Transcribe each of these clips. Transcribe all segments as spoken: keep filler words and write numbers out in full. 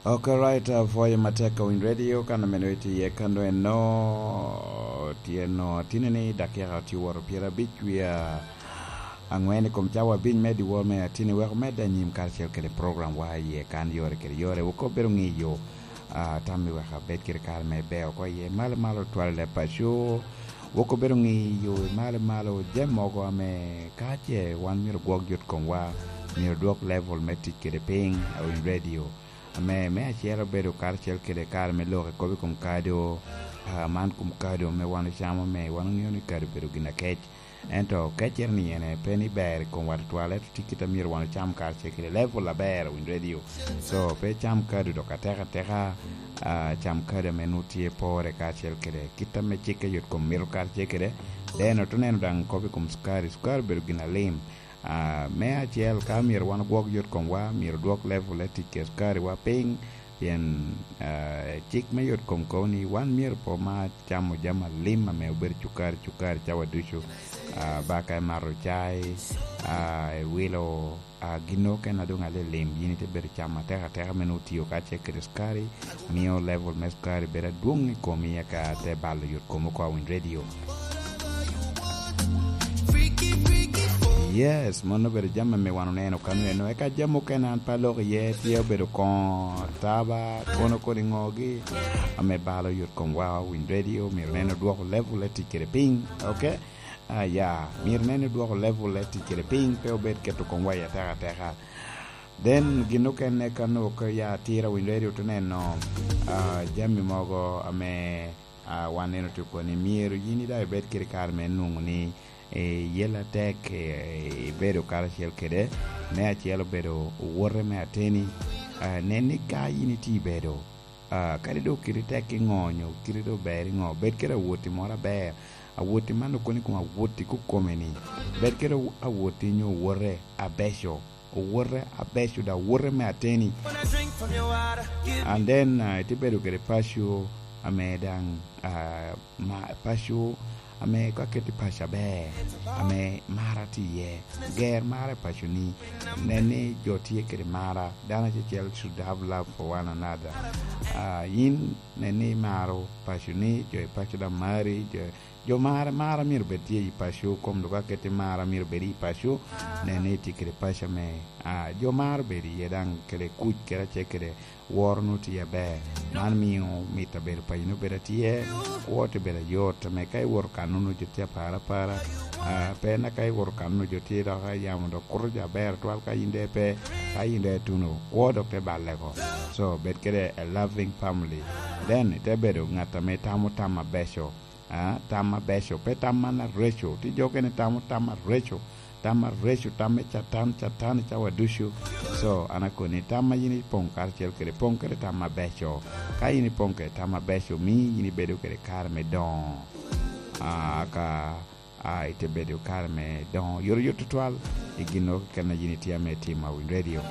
Ok, right, uh, pwoyo matek ka Winy Radio, kan ameno itye iye kano eno, tye no, atini ni dakika tye woro pyerabic wie angwen i kom cawa abic me dyewor me atini, wek omed anyim karacel kede program wa iye kan yore kede yore. Wok obedo ngiyo, uh, tammi wek abed kede kare me beo oko iye. Malo malo twal i leb paco, wok obedo ngiyo i malo malo jami mogo ame ka ce wan myero gwok yot komwa, myero dwok level me tic kede piny, uh, Winy Radio. Ame me acel obedo karacel kede kare me lok i kop i kom kado, ah, man kom kado ame wan ocamo, ame wan oŋeo ni kado obedo gin akec. Ento keccere ni ene pe ni ber i komwa tutwal, ento tye kit a myero wan ocam karacel kede level aber, Winy Radio. So, pe cam kado dok atek ateka, ah, cam kado ame nwoŋo tye pore karacel kede kit ame cikke yot kom mito karacel kede. Then ote neno daŋ kop i kom cukari. Cukari obedo gin alim. Ah, me acel, ka myero wan ogwok yot komwa, myero odwok level e tic kede cukariwa piny, pien, ah, cik me yot kom kobo ni wan myero pe omar camo jami alim ame obedo cukari, cukari cawa ducu. Ah, baka imato cai, ah, iwilo, ah, gin okene a doŋ alilim, yin ite bedo camo ateka ateka me nwoŋo tiyo kacel kede cukari, mio level me cukari bedo adwoŋ i komi, eka te balo yot kom oko, Winy Radio. Yes, mano obedo jami ame wan oneno kano eno. Eka jami okene an pe aloko iye, tye obedo koŋo, taba, kono kodi ŋogi, ame balo yot kom wa, Winy Radio myero nen odwoko level e tic kede piny, ok? Ah, ya, myero nen odwoko level e tic kede piny, pe obed keto komwa i ateka ateka. Then gin okene kano ka ya atira, Winy Radio te neno, ah, jami mogo ame, ah, wan neno tye koni, myero yin daŋ ibed kede kare me nwoŋo ni, eh, yel atek, eh, ibedo karacel kede. Me acel obedo owote me ateni. Ah, nen ni ka yin itye ibedo, ah, kadi doŋ kite tek i ŋo, nyo kite doŋ ber i ŋo, bed kede awoti moro aber. Awoti man okoni kom awoti kukome ni, bed kede awoti nyo owote abeco, owote abeco, da owote me ateni. And then, ah, ite bedo kede paco ame daŋ, ah, ma, paco ame ka keti paco aber, ame mara tye iye, ger mara i paconi, nen ni jo tye kede mara, dano acel should have love for one another. Ah, yin nen ni imaro paconi, jo i paco daŋ mari, jo, jo mara, mara myero bed tye i paco, kom dok ka keti mara myero bed i paco, nen ni itye kede paco ame, ah, jo maro bedo iye daŋ kede kuc kede acel kede woro nwoŋo tye aber. Man mio mit abedo paco nwoŋo bedo atye, kwo te bedo ayot, ame ka iwoto kan nwoŋo jo tye apara apara, ah, pe na ka iwoto kan nwoŋo jo tye dok yamo dok kuto jo aber twal ka yin de pe, ka yin de ituno, kwo dok te balle oko. So, bed kede a loving family. Then, ite bedo ŋat ame tamo tam abeco. Ah, tam abeco, pe tam man areco. Tye jo okene tamo tam areco, tam areco, tam me Catan, Catan i cawa ducu. So, an akoni, tam ma yin ipoŋ karacel kede, poŋ kede tam abeco. Ka yin ipoŋ kede tam abeco, mi yin ibedo kede kare me doŋo. Ah, ka, ah, ite bedo kare me doŋo yot yot tutwal i gin okene yin itye ame itimo, Winy Radio.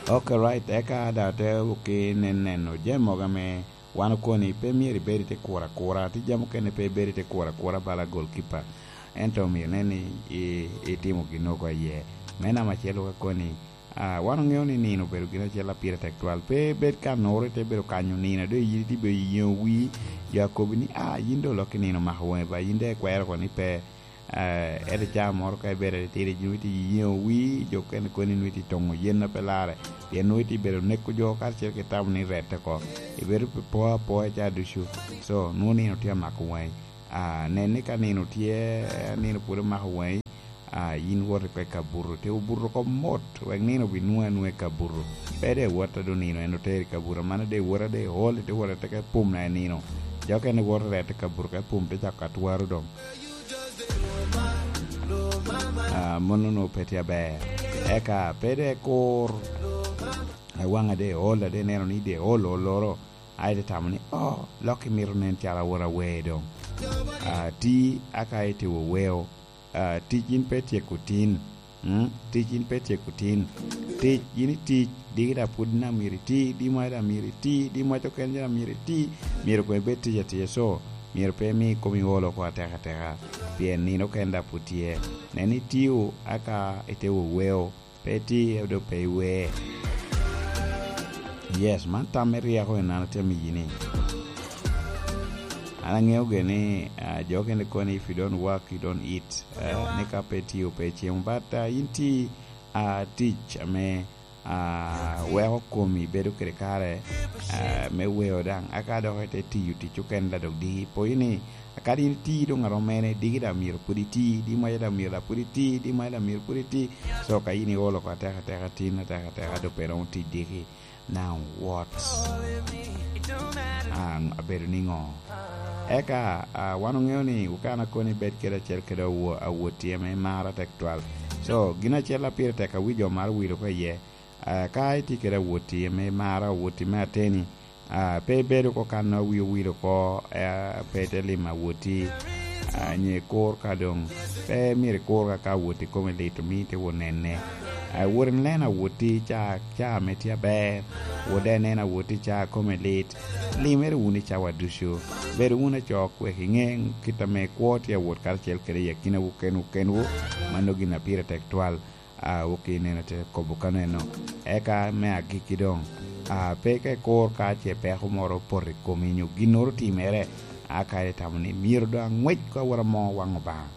Ok, right, eka da te wuki nen neno jami mogo ame wan okoni pe myero ibed i te kuro akura, tye jami okene pe ibed i te kuro akura bala goalkeeper. Ento myero inen ni i, itimo gin oko iye. Me namba acel wek akoni, ah, wan oŋeo ni nino obedo gin acel a pire tek twal. Pe ibed ka noro ite bedo kanyo nino, do yin itye bedo i yeŋo wii, jo akobi ni, "Ah, yin do olok i nino mako waŋi ba, yin de ikwero oko ni pe." Eh, ento caa moro ka ibed atitidi, nwoŋo itye yeŋo wii, jo okene koni nwoŋo itye toŋo yen a pe larre, pien nwoŋo itye bedo neko jo karacel ki tamo ni rette oko. Ibedo pe po apoya caa ducu. So, nwoŋo nino tye amako waŋi. Ah, nen ni ka nino tye, nino pwod omako waŋi, ah, yin wot oko i kabuto, te obuto oko mot, wek nino obinwoŋi anwoŋa i kabuto. Pe de iwot a doŋ nino en oteri i kabuto, amannono de iwot a de iol, ite wot ateka i pum na i nino. Jo okene woto rette i kabuto ka i pum te cako ka twaro doŋ. Ah, mano nwoŋo pe tye aber. Eka pe de kur, a waŋa de ol, a de neno ni de ol, oloro, a ite tamo ni, "Oh, lok imito nen calo awot awer doŋ." Ah, ti, aka ite weweo. Ah, tic yin pe tyeko tin. Mm, tic yin pe tyeko tin. Tic, yin itic, diki da pwod na myero iti, di mwaca da myero iti, di mwaca okene da myero iti, myero koŋ ibed tic atica. So, myero pe imi komi ol oko ateka ateka, pien nino okene da pwod tye. Nen ni itio, aka ite weweo, pe iti, dok pe iwe. Yes, man tam me ryeko en an atye amiyi ni. An aŋeo gire ni, ah, jo okene kono ni, "If you don't work, you don't eat." Ah, ni ka pe itiyo, pe icemo. But, ah, in ti, ah, tic ame, ah, weko komi bedo kede kare, ah, me weo daŋ. Aka dok ite tiyo tic okene la dok diki. Poyi ni, akadi in iti doŋ arom mene, diki daŋ myero pwod iti, di maca daŋ myero daŋ pwod iti, di maca daŋ myero pwod iti. So, ka in iolo oko ateka ateka tin, ateka ateka, dok pe romo tic diki. Now what? Ah, abedo niŋo? Eka, ah, wan oŋeo ni okana koni bed kede acel kede awo-, awoti ame mara tek twal. So, gin acel a pire tek a wi jo maro wil oko iye. Ah, ka itye kede awoti ame mara, awoti me ateni, ah, pe ibedo oko kan a wi owil oko, ah, pe ite limo awoti, ah, nyo ikur ka doŋ pe myero ikur ka, ka awoti kome lit, omi ite wot nene. Ah, wot inen awoti ca, ca ame tye aber, wot daŋ inen awoti ca kome lit. Limere wunu i cawa ducu. Bedo wunu acok wek iŋe kit ame kwo tye awot karacel kede i akinawu kenwu kenwu. Mano gin a pire tek twal. Ah, ok ineno te kobo kaneno. Eka me agikki doŋ, ah, pe ka ikur ka ce peko moro opoto i komi nyo ginnoro otimere, a kara itamo ni myero doŋ aŋwec ka awot amo waŋ Obaŋa.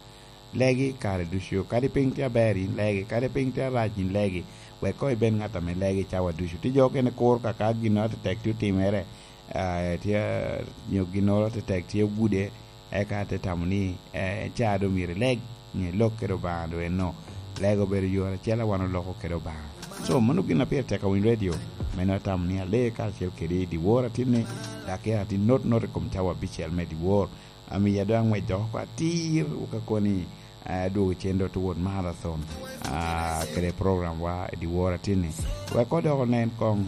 Legi kare ducu, kadi piny tye aber, in legi, kadi piny tye arac, in legi, wek koŋ ibed ŋat ame legi cawa ducu. Tye jo okene kur ka, ka ginnoro atetek tye otimere, ah, tye, nyo ginnoro atetek tye ogude, eka te tamo ni, eh, ca doŋ myero ileg, nyo ilok kede Obaŋa doŋ eno, lego obedo yore acel a wan oloko kede Obaŋa. So, mano gin a pire tek a winy redio, meno atamo ni alee karacel kede i dyewor atinni, dok atin not not i kom cawa abicel me dyewor. Amiya doŋ aŋwec dok oko atir, wok akoni, eh, adwogo cen dot wot marathon, ah, kede program wa i dyewor atinni. Wek odoko nen koŋ.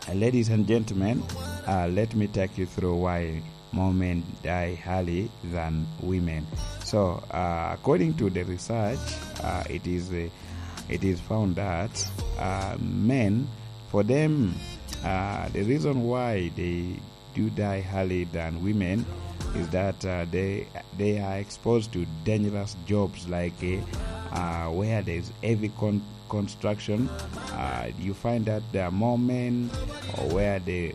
Uh, ladies and gentlemen, uh, let me take you through why more men die early than women. So, uh, according to the research, uh, it is, uh, it is found that, uh, men, for them, uh, the reason why they do die early than women is that, uh, they, they are exposed to dangerous jobs like, uh, uh, where there's heavy con-, construction. Uh, you find that there are more men, or where they,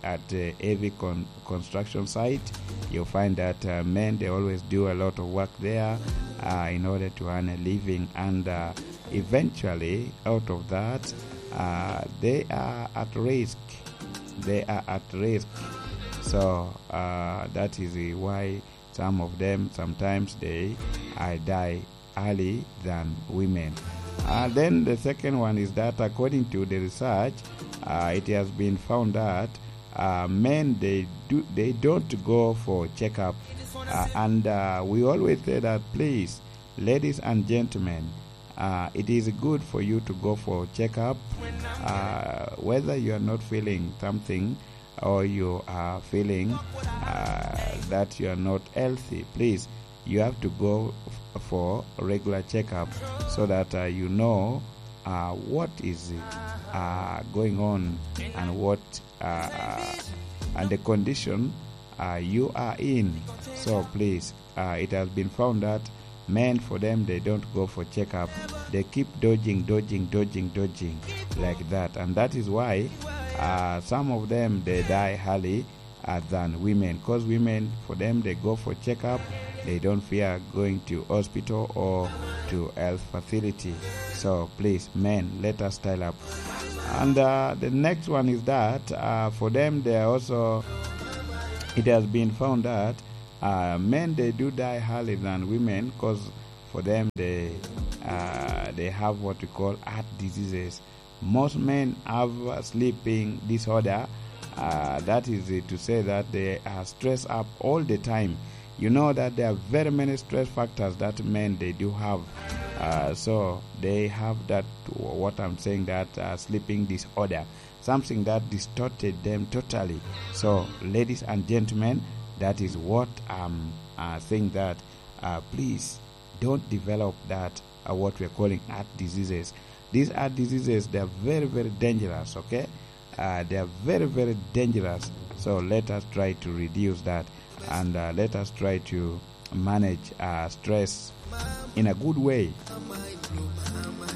at, uh, heavy con-, construction site, you find that, uh, men, they always do a lot of work there, uh, in order to earn a living, and, uh, eventually, out of that, uh, they are at risk. They are at risk. So, uh, that is why some of them, sometimes they, uh, die early than women. Uh, then the second one is that according to the research, uh, it has been found that, uh, men, they do, they don't go for checkup. Uh, and, uh, we always say that, please, ladies and gentlemen, uh, it is good for you to go for checkup, uh, whether you are not feeling something or you are feeling, uh, that you are not healthy, please, you have to go f-, for regular checkup so that, uh, you know, uh, what is, uh, going on and what, uh, and the condition, uh, you are in. So please, uh, it has been found that men, for them, they don't go for checkup. They keep dodging, dodging, dodging, dodging like that. And that is why, uh, some of them, they die early, uh, than women. 'Cause women, for them, they go for checkup. They don't fear going to hospital or to health facility. So please, men, let us style up. And, uh, the next one is that, uh, for them, they are also, it has been found that, uh, men, they do die early than women 'cause for them, they, uh, they have what we call heart diseases. Most men have a sleeping disorder. Uh, that is, uh, to say that they are stressed up all the time. You know that there are very many stress factors that men, they do have. Uh, so they have that, what I'm saying, that, uh, sleeping disorder, something that distorted them totally. So, ladies and gentlemen, that is what I'm, uh, saying, that, uh, please don't develop that, uh, what we are calling heart diseases. These heart diseases, they are very, very dangerous, okay? Uh, they are very, very dangerous. So let us try to reduce that, and, uh, let us try to, manage uh, stress in a good way.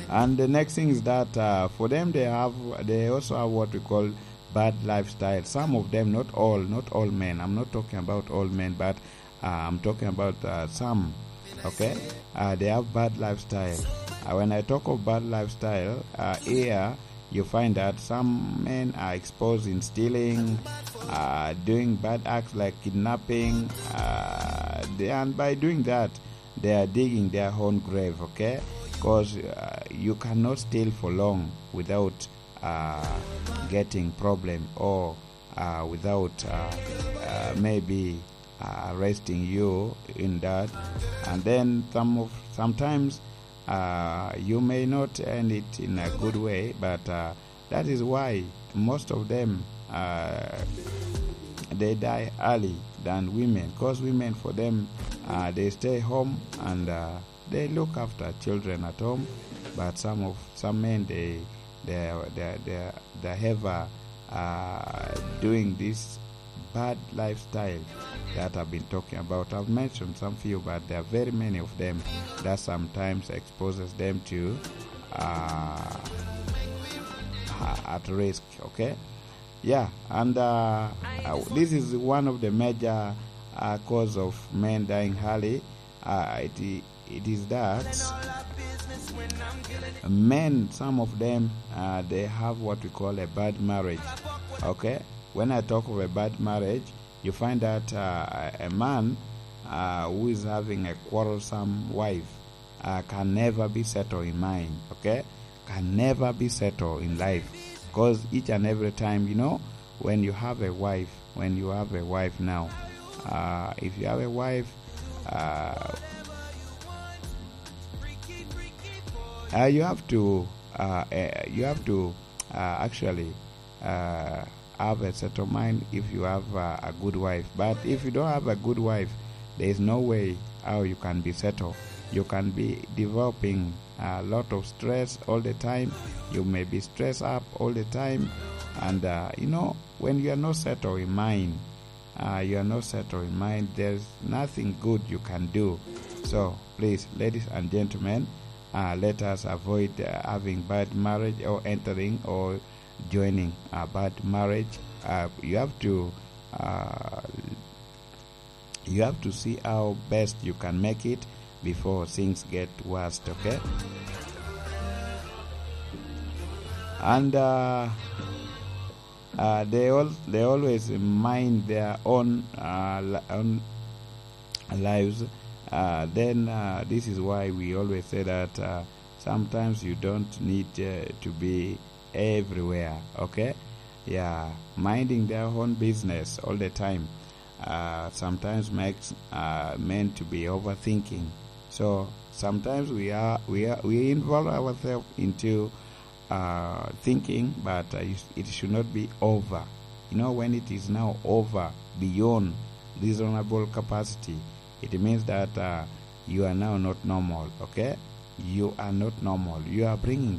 And the next thing is that uh, for them, they have they also have what we call bad lifestyle. Some of them, not all, not all men. I'm not talking about all men, but uh, I'm talking about uh, some. Okay, uh, they have bad lifestyle. Uh, when I talk of bad lifestyle, uh, here you find that some men are exposed in stealing, uh, doing bad acts like kidnapping, uh, they, and by doing that, they are digging their own grave, okay? Because uh, you cannot steal for long without uh, getting problem or uh, without uh, uh, maybe uh, arresting you in that. And then some of, sometimes uh, you may not end it in a good way, but uh, that is why most of them uh, they die early than women, because women, for them, uh, they stay home and uh, they look after children at home. But some of some men, they they they they, they have uh, uh, doing this bad lifestyle that I've been talking about. I've mentioned some few, but there are very many of them that sometimes exposes them to uh, at risk. Okay, yeah, and uh, uh, this is one of the major uh, cause of men dying early. Uh, it it is that men, some of them, uh, they have what we call a bad marriage. Okay, when I talk of a bad marriage, you find that uh, a man uh, who is having a quarrelsome wife uh, can never be settled in mind. Okay, can never be settled in life, because each and every time, you know, when you have a wife, when you have a wife now, uh, if you have a wife, uh, uh, you have to uh, uh, you have to uh, actually uh, have a settled mind if you have uh, a good wife. But if you don't have a good wife, there is no way how you can be settled. You can be developing a lot of stress all the time. You may be stressed up all the time. And uh, you know, when you are not settled in mind, uh, you are not settled in mind, there's nothing good you can do. So please, ladies and gentlemen, uh, let us avoid uh, having bad marriage or entering or joining a bad marriage. Uh, you have to uh, you have to see how best you can make it before things get worse. Okay, and uh, uh, they all they always mind their own uh, li- own lives. Uh, then uh, this is why we always say that uh, sometimes you don't need uh, to be everywhere. Okay, yeah, minding their own business all the time uh, sometimes makes uh, men to be overthinking. So sometimes we are we are we involve ourselves into uh, thinking, but uh, you- it should not be over. You know, when it is now over beyond reasonable capacity, it means that uh, you are now not normal. Okay, you are not normal. You are bringing